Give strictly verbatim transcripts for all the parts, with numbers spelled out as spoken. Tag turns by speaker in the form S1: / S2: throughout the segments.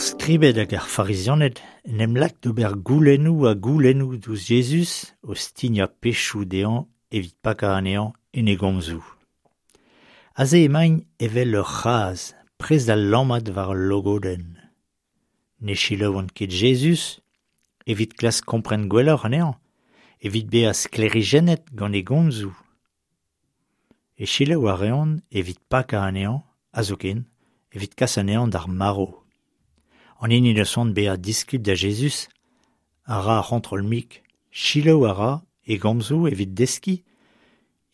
S1: Skribed hag ar Farizianed en em lak d'ober goulennoù ha goulennoù diouzh Jezuz o stignañ pechoù dezhañ evit pakañ anezhañ en e gomzoù. Aze emaint evel ur c'hazh prest da lammat war ul logodenn. Ne selaouont ket Jezuz evit klask kompren gwelloc'h anezhañ, evit bezañ sklêrijennet gant e gomzoù. E selaou a reont evit pakañ anezhañ, ha zoken evit kas anezhañ d'ar marv. An hini n'eus c'hoant bezañ diskibl da Jezuz a ra ar c'hontrol-mik, selaou a ra e gomzoù evit deskiñ,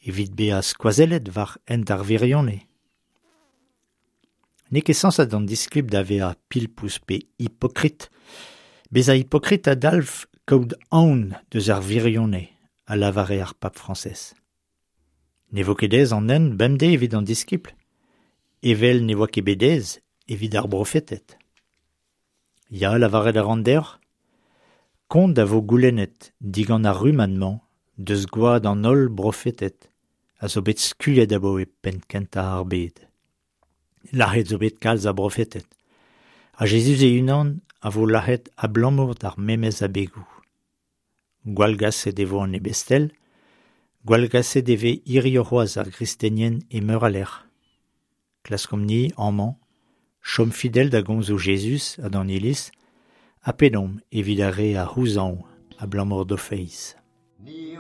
S1: evit bezañ skoazellet war hent ar wirionez. N'eo ket sañset an diskibl da vezañ pilpouz pe hipokrit. Bezañ hipokrit a dalv kaout aon deus ar wirionez, a lavare ar pab Frañsez. Ne vo ket aes an hent bemdez evit an diskibl, evel ne oa ket bet aes evit ar brofeted. Ya, lavaret a ran deoc'h, kont a vo goulennet digant ar rummad-mañ deus gwad an holl brofeted a zo bet skuilhet abaoe penn-kentañ ar bed. Lazhet zo bet kalz a brofeted. Ha Jezuz e-unan a vo lazhet abalamour d'ar memes abegoù. Gwallgaset e vo an ebestel, gwallgaset e vez hiziv c'hoazh ar gristenien e meur a lec'h. Klaskomp-ni amañ, chom fidel da gomzoù Jezuz ha d'an Iliz, ha pedomp evit ar re a c'houzañv abalamour d'o feiz.
S2: Ni